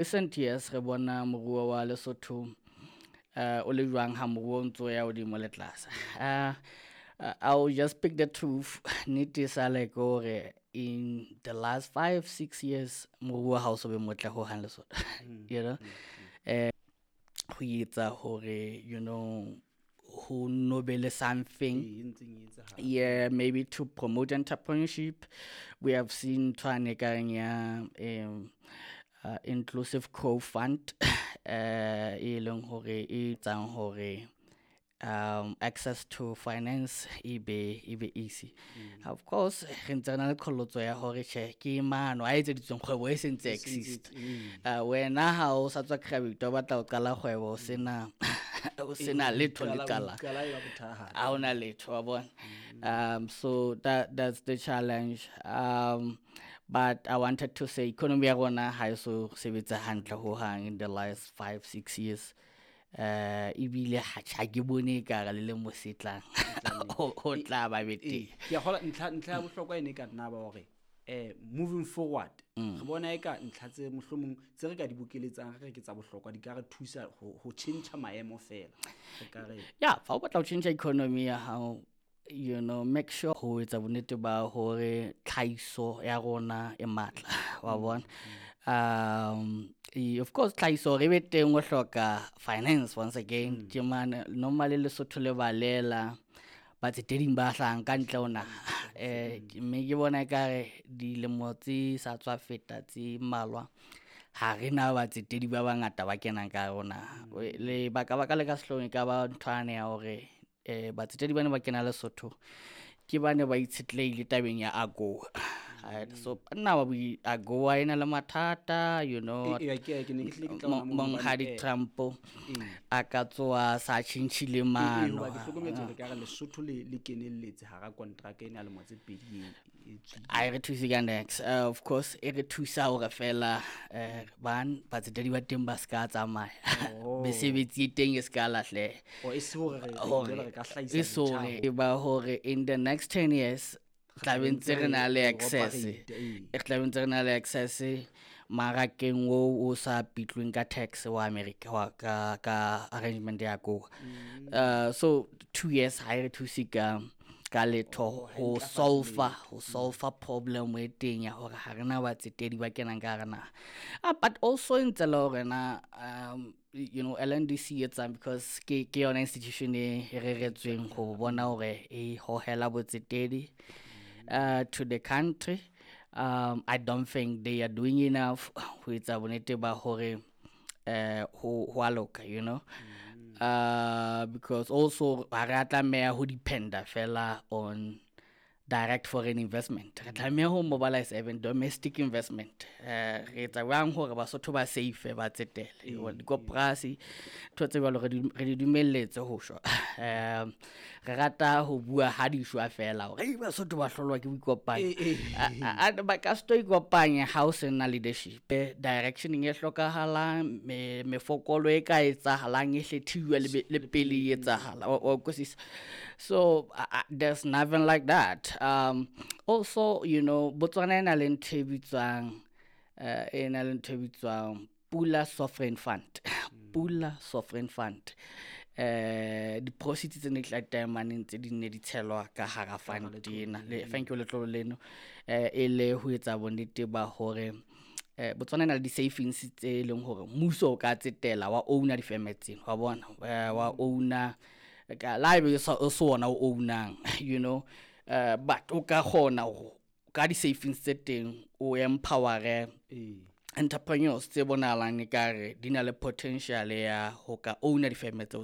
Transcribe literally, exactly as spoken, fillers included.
Recent years re bona moruo wa Lesotho uh, o le jwang ha moruo o ntso ya hodimo le tlase. Uh, uh, I'll just speak the truth. Nnete sa le ke hore in the last five six years moruo ha o so be motle hohang Lesotho. you know eh ho etsa hore you know ho no be le something e ntseng e etsahala. yeah maybe to promote entrepreneurship we have seen nthwane e kareng ya um uh, inclusive growth fund uh e leng hore e etsang hore um access to finance e be e be easy of course re ntse re na le qholotso ya hore tjhe ke mano a etseditsweng kgwebo e sentse exist uh, wena ha o sa tswa graduate o batla ho qala kgwebo o sena o sena letho le qala qala e ba bothata ha hona letho wa bona um so that that's the challenge um but i wanted to say economy ya rona ha e so sebetsa hantle hohang in the last five six years uh ebile ha ha ke bone ekare le lemo se tlang ho ho tla ba betere ke a kgolwa ntlha ntlha ya bohlokwa e ne e ka nna ba hore eh moving forward re bona eka ntlha tse mohlomong tse re ka di bokeletsang re re ke tsa bohlokwa di ka re thusa ho ho tjhentjha maemo fela re ka re yeah fa o batla ho tjhentjha economy ya hao you know make sure ho etsa bonnete ba hore tlhahiso ya rona e matla wa bona um e- of course tlhahiso re be teng o hloka finance once again ke mane normally Lesotho le balela batseteding ba hlahang ka ntle ho naha eh mme ke bona ekare dilemo tse sa tswa feta tse mmalwa ha re na batsetedi ba bangata ba kenang ka hare ho naha lebaka baka le ka sehloohong e ka ba nthwane ya hore eh batsetedi bana ba kena Lesotho ke bane ba itshetlehile tabeng ya AGOA Right, so nna wa boi AGOA e na le mathata you know Eh, eh, ke ke ne ke hlile ke tla ona moo hobane, monghadi eh, Trump ee. a ka tsoha sa tjhentjhile Ee, mano hoba ke hlokometse hore ekare Lesotho le le kenelletse hara kontraka ena ya lemo tse pedi e e tswileng. ha e re thuse ka niks uh, of course e re thusa hore fela eh ban batsetedi ba teng ba ska tsamaya Oh. mesebetsi e teng e ska lahleha Oh, e se hore re re hore jwale re ka hlahisa e so botjha hore e ba hore in the next ten years tla be ntse re na le re access operate, ee. re tla be ntse re na le access marakeng oo o sa pitlweng ka tax wa America wa ka ka arrangement ya AGOA uh so two years ha e re thuse ka ka letho ho solve ho solve problem e teng ya hore ha rena batsetedi ba kenang ka hara naha ah, but also e ntse le hore na um you know LNDC e etsang because ke ke yona institution e e reretsweng ho bona hore e hohela botsetedi uh, to the country um i don't think they are doing enough ho etsa bonnete ba hore eh ho ho a loka you know uh because also ha re a tlameha ho dependa fela on direct foreign investment re tlameha ho mobilize even domestic investment eh re etsa jwang hore basotho ba safe ba tsetele dikoporasi ntho tse jwalo re di re di dumelletse ho shwa um re rata ho bua ha di shwa fela hore "Ei, basotho ba hlolwa ke boikopanya Eh, eh. A- a- ba ka se tlo ikopanya ha o sena leadership Eh, direction e hlokahalang me mefokolo e ka etsahalang e hlethiwe le be- le pele e etsahala wa wa utlwisisa so uh, uh, there's nothing like that um also you know Botswana e na le ntho e bitswang eh e na le ntho e bitswang Pula Sovereign Fund Pula Sovereign Fund eh di-proceeds tse ne di tla taemaneng tse di ne di tshelwa ka hara fund ena le thank you letlolo leno eh e le ho etsa bonnete ba hore eh Botswana e na le di-savings tse leng hore mmuso o ka tsetela wa owner difeme tseno wa bona eh, wa owner ka la ebe o sa- o se ona o ownang you know uh, but o ka kgona ho ka di-savings tse teng o empowere Ee. entrepreneurs tse bonahalang ekare di na le potential ya ho ka owner difeme tseo